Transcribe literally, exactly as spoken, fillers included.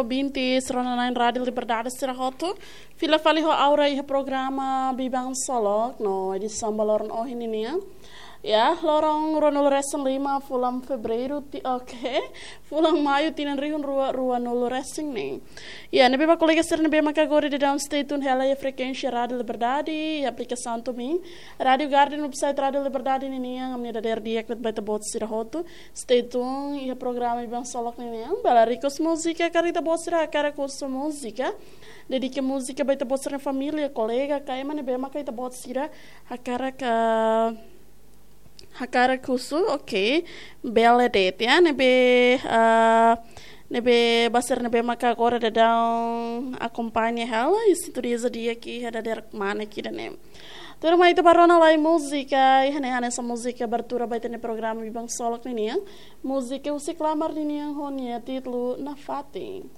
Ouvinte sira-nia na'in Rádio Liberdade sira hotu. Fila fali ho Aura iha programa Biban Solok no edisaun ba loron ohin ninian. Ya, loron ruanulu resin lima fulan Fevereiru, ti-, oke. Fulan Maiu tinan rihun rua ruanulu resin neen. Ya, ne'ebé ba kolega sira ne'ebé maka agora daudaun stay tune hela iha frekuénsia Rádio Liberdade, iha aplikasaun TuneIn, Rádio Garden, website Rádio Liberdade ninian, ami-nia dadeer di'ak ba ita-boot sira hotu. Stay tune iha programa Biban Solok ninian. Bele request múzika, karik ita-boot sira hakarak husu múzika, dedika múzika ba ita-boot sira-nia família, kolega, ka ema ne'ebé maka ita-boot sira hakarak, ah, hakarak husu, oke. Bele de'it, ya, ne'ebé, ah, ne'ebé ba sira ne'ebé maka agora daudaun akompaña hela, i sintoniza di'ak iha dadeer kmanek ida-ne'e. Tuirmai ita bá rona lai múzika, iha ne'e hanesan múzika abertura ba ita-nia programa Biban Solok ninian. Múzika husi Klamar ninian ho nia títulu Nafatin.